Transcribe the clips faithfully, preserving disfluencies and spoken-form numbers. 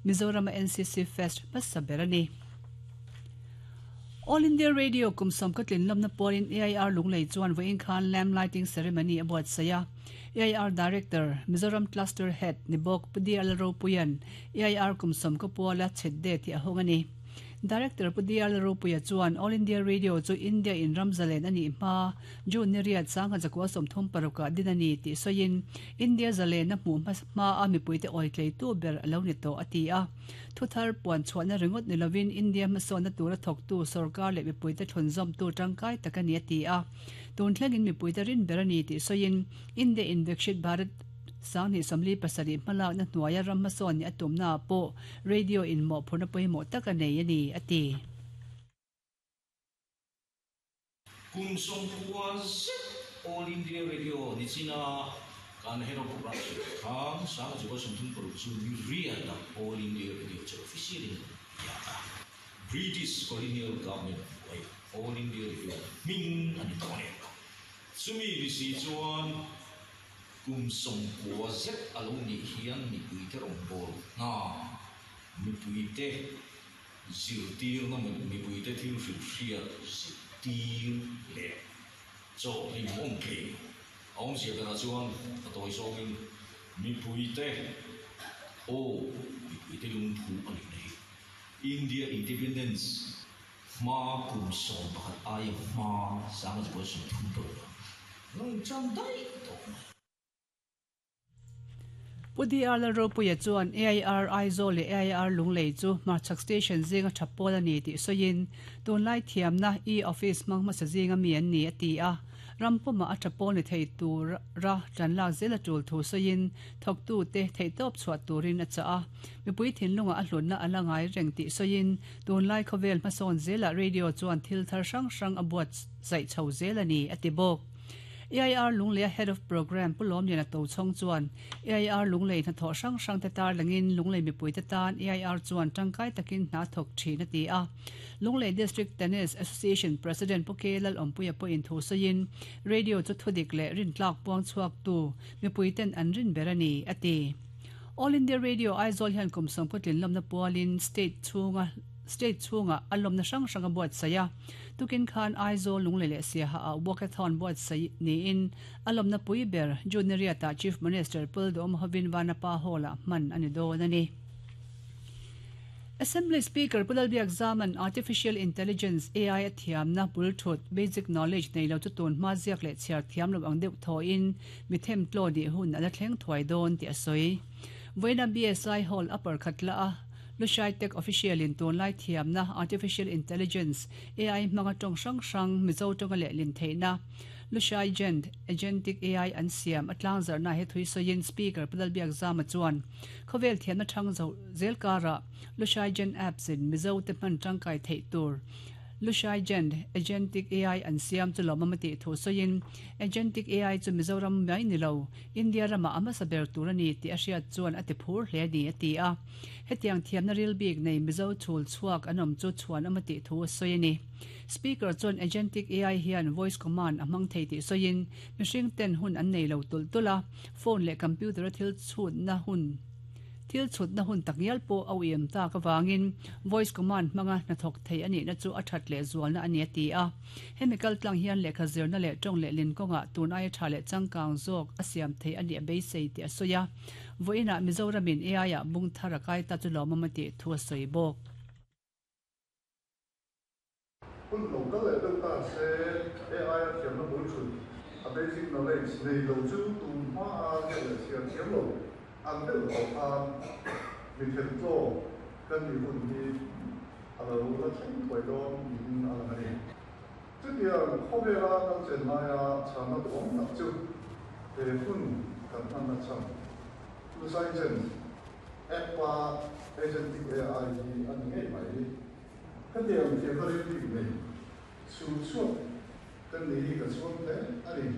Mizoram N C C Fest hmasa ber a ni. All India Radio kum sawm ka tlin lawmna pawlin A I R Lunglei chuan vawiin khan lamp lighting ceremony a buatsaih a. A I R Director, Mizoram Cluster Head ni bawk Pu D L Ropuian A I R kum sawm ka puala chhet de tih a hawng a ni. Director Pu D L Ropuia chuan All India Radio chu India in ramzalen a nih hma June ni riat sangha zakua sawmthum parukah din a ni tih sawiin India zalen a hmuh hma a mipuite awi tleitu ber a lo ni tawh a ti a. Thuthar puan chhuahna ringawt ni lovin India hmasawnna tura thawktu sarkar leh mipuite thlunzawmtu tangkai tak a ni a ti a. Tun thlengin mipuite rin ber a ni tih sawiin India in Viksit Bharat sangni sawmli pasarih hmalakna hnuaia ram hmasawn ni a tumna pawh radio in mawhphurhna pawimawh tak a nei a ni a ti. Kum sawmkua zet All India Radio ni china kan head of production khan sanga zakua sawmthum paruk chu ni riat a All India Radio chu official in ya ta. British Colonial Government hnuai All India Radio hming a ni tawh a ni. Chumi ni si chuan kum sawmkua zet a lo nih hian mipuite rawngbâwl hna, mipuite zirtîrna, mipuite thil hrilhhriat zirtîr leh chaw hlim awm thei. A awmzia berah chuan a tawi zawngin mipuite aw, mipuite lungphu a nihna hi India Independence hma kum sawm pakhat aia hma sanga zakua sawmthum paruk a lo inṭan daih tawh mai. Pu D R Lalropuia chuan A I R Aizawl leh A I R Lunglei chu Hmarchhak Station zinga tha pawl a ni tih sawiin tunlai thiamna e-office hmang hmasa zinga mi an ni a ti a. Rampuma a tha pawl ni thei tur ra tan lak zel a tul thu sawiin thawktu te theihtawp chhuah turin a chah a. Mipui thinlunga a hlutna a la ngai reng tih sawiin tunlai khawvel hmasawn zelah radio chuan thil thar hrang hrang a buat zaih chho zel a ni a ti bawk. A I R Lunglei Head of Program Pu Lawmlian a to chhawng chuan A I R Lunglei hnathawh hrang hrang te tar langin Lunglei mipuite tan A I R chuan tangkai takin hna thawk thin a ti a. Lunglei District Tennis Association President Pu K Lal Awmpuia pawhin thu sawiin radio chu thudik leh rintlak puang chhuak tu mipuiten an rin ber a ni a ti. All India Radio Aizawl hian kum sawmkaw tlin lawmna pualin state chhunga state chhunga a lawmna hrang hrang a buatsaih a. Tukin khan Aizawl Lunglei leh Siaha a walkathon buatsaih niin a lawmna pui ber June ni riatah Chief Minister Pu Duhom Hovin Vanapa Hall-ah hman a ni dawn a ni. Assembly Speaker Pu Lalbiak Zaman Artificial Intelligence A I a thiamna bul thut basic knowledge nei lo chu tun hma ziak leh chhiar thiam lo ang deuh thawin mi them tlaw ni hun a la thleng thuai dawn tih a sawi. Vawiina B S I Hall upper khat la a Lushai Tech official in tunlai thiamna Artificial Intelligence A I hmanga tawng hrang hrang Mizo tawnga leh lin theihna Lushai Gent Agentic A I an siam a tlang zarhna he thui sawiin Speaker Pu Lalbiak Zama chuan khawvel thiamna thang zo zel kara Lushai Gent apps in Mizo te hman tangkai theih tur Lushai Gent Agentic A I an siam chu lawm a ti thu sawiin Agentic A I chu Mizoram mai ni lo India rama a hmasa ber tur a ni tih a hriat chuan a ti phur hle ni a ti a. Hetiang thiamna ril bik nei Mizo chhul chhuak an awm chu chhuan awm a tih thu a sawi a ni. Speaker chuan Agentic A I hian voice command a hmang thei tih sawiin mihring ten hun an nei lo tul tul a, phone leh computer a thil chhutna hun thil chhutna hun tak ngial pawh a uiam tak awangin voice command hmanga hnathawk thei a nihna chu a that leh zualna a ni a ti a. Hemi kal tlang hian lehkha zirna leh tawng leh lin kawnga tun aia tha leh changkang zawk a siam thei a nih a beisei tih a sawi a. Vawiinah Mizoramin A I ah bung thar a kai ta chu lawm awm a tih thu a sawi bawk. Hun lo kal leh deuh ta se A I a thiamna bul thut a basic knowledge nei lo chu tun hma a ziak leh chhiar thiam lo ang deuh tawh khan mi them tlaw kan nih hun hi a lo la thleng thuai dawn niin a lang a ni. Chutiang khawvela kan chen laia chhana duhawm tak chu he hun kan hmanna chhan Lushai Gent app a Agentic A I hi a ni ngei mai. Hetiang thiamna ril bik nei chhul chhuak kan ni hi ka chhuang hle a ni.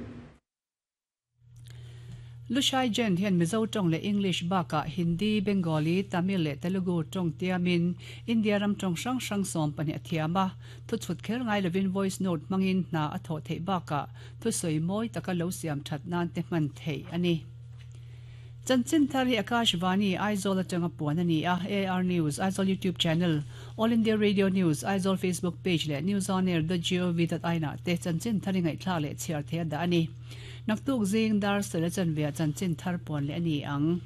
Lushai Gent hian Mizo tawng leh English bakah Hindi, Bengali, Tamil leh Telugu tawng tiamin India ram tawng hrang hrang sawm pahnih a thiam a. Thu chhut kher ngai lovin voice note hmangin hna a thawh theih bakah thu sawi mawi taka lo siam that nan te hman theih a ni. Chanchin thar hi Akashvani Aizawl atanga puan ani a A R News Aizawl YouTube channel All India Radio News Aizawl Facebook page le news on air dot gov dot in te chanchin thar ngai thla le chhiar the da ani naktuk zing dar sele chan ve chanchin thar puan le ani ang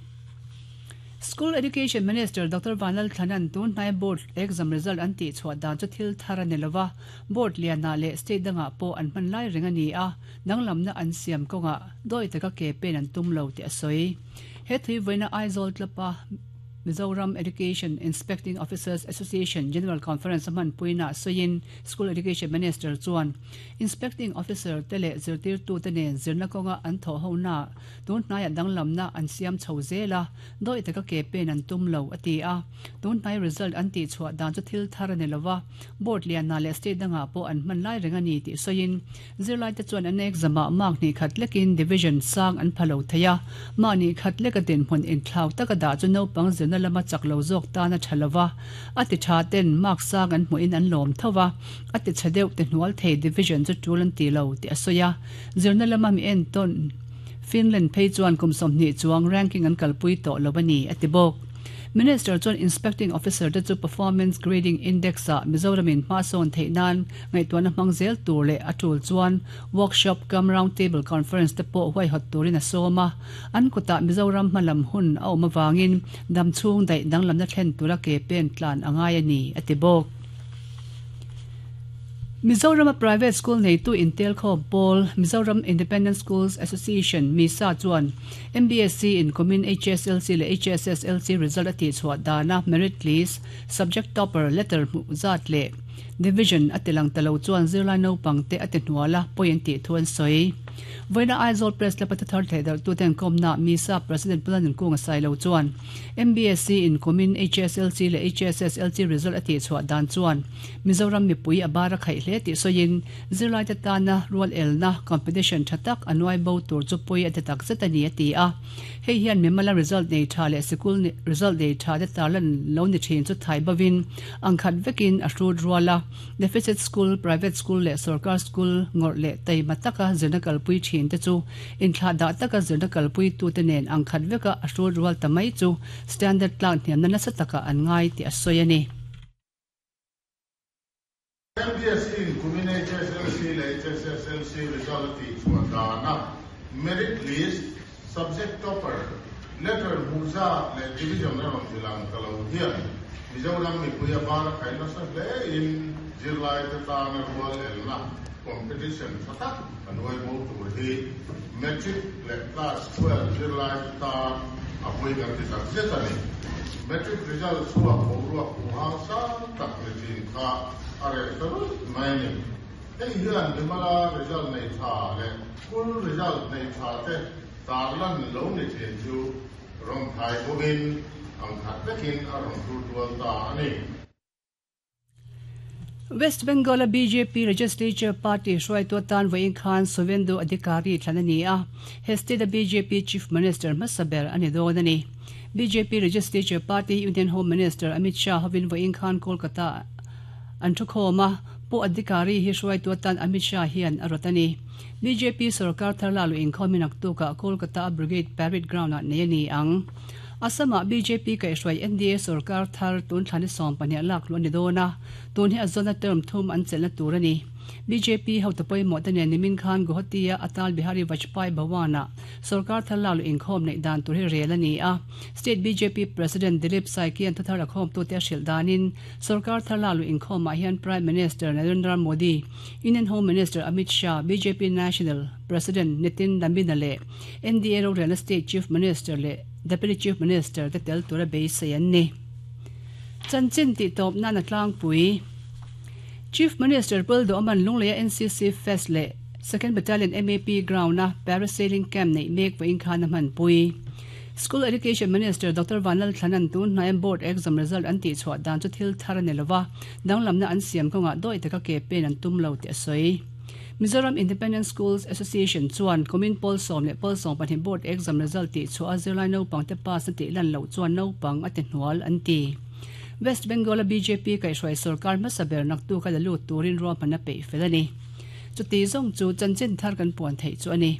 School Education Minister Doctor Vanlal Thanan tun hnai board exam result an ti chhuah dan chu thil thar ani lova board liana le state danga po an hman lai ring ani a danglamna an siam konga doi taka ke pen an tum lo ti a soi he thui voina Aizawl tlapa Mizoram Education Inspecting Officers Association General Conference man puina soin School Education Minister chuan Inspecting Officer tele zirtir tu tene zirna konga an tho ho na tun hnai danglam na an siam chho zela doi taka ke pen an tum lo ati a tun hnai result an ti chhuah dan chu thil thar ani lova board lian na le state danga po an man lai ring ani ti soin zirlai te chuan an exam a mark ni khat lekin division sang an phalo theya ma ni khat leka din hmun in thlau taka da chu no pang zirna lama chaklo zawk ta na thalawa ati tha ten mark sang an hmuin an lawm thowa ati chadeu te hnual thei division chu tulan ti lo ti asoya zirna lama mi en ton Finland phei chuan kum sawmhnih chuang ranking an kalpui tawh lobani ati bawk Minister chuan Inspecting Officer te chu Performance Grading Index a Mizoramin hma sawn theih nan ngaihtuahna hmang zel tur leh a tul chuan workshop cum round table conference te pawh huaihawt turin a sawm a an kutah Mizoram hmalam hun a awm awangin dam chhung daih danglamna thlen tura ke pen tlan a ngai ani ati bawk Mizoram Private School nei tu Intel Kho Paul Mizoram Independent Schools Association MISA chuan M B S C in Common H S L C le H S S L C result ati chhuah dana merit list subject topper letter mu zat le division atilang talo chuan zirlai naupang te ati hnuala point ti thuan soi voina Aizawl Press la pathathar thedar tu ten komna MISA President Planan Kunga Sailo chuan M B S C in Common H S L C le H S S L C result ati chhuah dan chuan Mizoram mipui abara khai hle ti soin zirlai te tana rual elna competition thatak anuai bo tur chu pui ati tak zetani ati a hei hian mimala result nei tha le sikul result nei tha te tarlan lo ni thin chu thai bawin angkhat vekin a hrut ruala deficit school private school le sarkar school ngor le taima taka zirna kalpui thin te chu inthla da taka zirna kalpui tu te nen angkhat veka a hrut rual tamai chu standard tlang hniam na nasa taka an ngai ti a sawi ani M B S C in Common H S L C le H S S L C result ti chhuah dana merit list subject topper letter muza le division na ron tilang talo hian Mizoram mipui a bar khai nasa hle in zirlai te tana rual elna competition thatak anuai bo tur hi metric le class twelve zirlai te ta apui kan ti tak zet ani metric result chhuah bo ruak hu hang sang tak ni thin kha are taru mai ni hei hian mimala result nei tha le school result nei tha te tarlan lo ni thin chu ron thai bovin ang khat vekin a ron tur dual ta ani West Bengal B J P Legislature Party hruaitu tan vawiin khan Suvendu Adhikari thlan ani a he state B J P Chief Minister hmasaber ani dawn ani B J P Legislature Party Union Home Minister Amit Shah hovin vawiin khan Kolkata an thu khawm a pu Adhikari hi hruaitu tan Amit Shah hian a rawt ani B J P sarkar thar lalu inkhawmin naktuka Kolkata Brigade Parade Ground ah nei ani ang Asama B J P kai hruai N D A sarkar thar tun thlani sawm pahnih lak lu ani dawn a tun hi a zawna term thum an chelna tur ani B J P hotu pawimawh te nen nimin khan Guwahati a Atal Bihari Vajpayee Bhawana sarkar thar lalu inkhawm neih dan tur hi rel ani a State B J P President Dilip Saikia an thuthar a khawm tu te a hrilh danin sarkar thar lalu inkhawm ah hian Prime Minister Narendra Modi Union Home Minister Amit Shah B J P National President Nitin Nabin le N D A rorelna State Chief Minister le Deputy Chief Minister te tel tura beisei an ni chanchin ti tawp na na tlangpui Chief Minister Puldo Aman Lungleia N C C Fest le Second Battalion M A P ground na parasailing camp nei mek vawiin khan a hman pui School Education Minister Doctor Vanlal Thanan tun hnai board exam result an ti chhuah dan chu thil thar ani lova danglamna an siam kawnga doi taka ke pen an tum lo ti a sawi Mizoram Independent Schools Association chuan Common Paul sawm leh Paul sawm pahnih board exam result ti chhuah a zirlai naupang te pass na tih lan loh chuan naupang a ti hnual an ti West Bengal B J P kai hruai sarkar hmasaber naktu ka lalu turin ruahman a peih fel ani chuti zawng chu chanchin thar kan puan theih chu ani.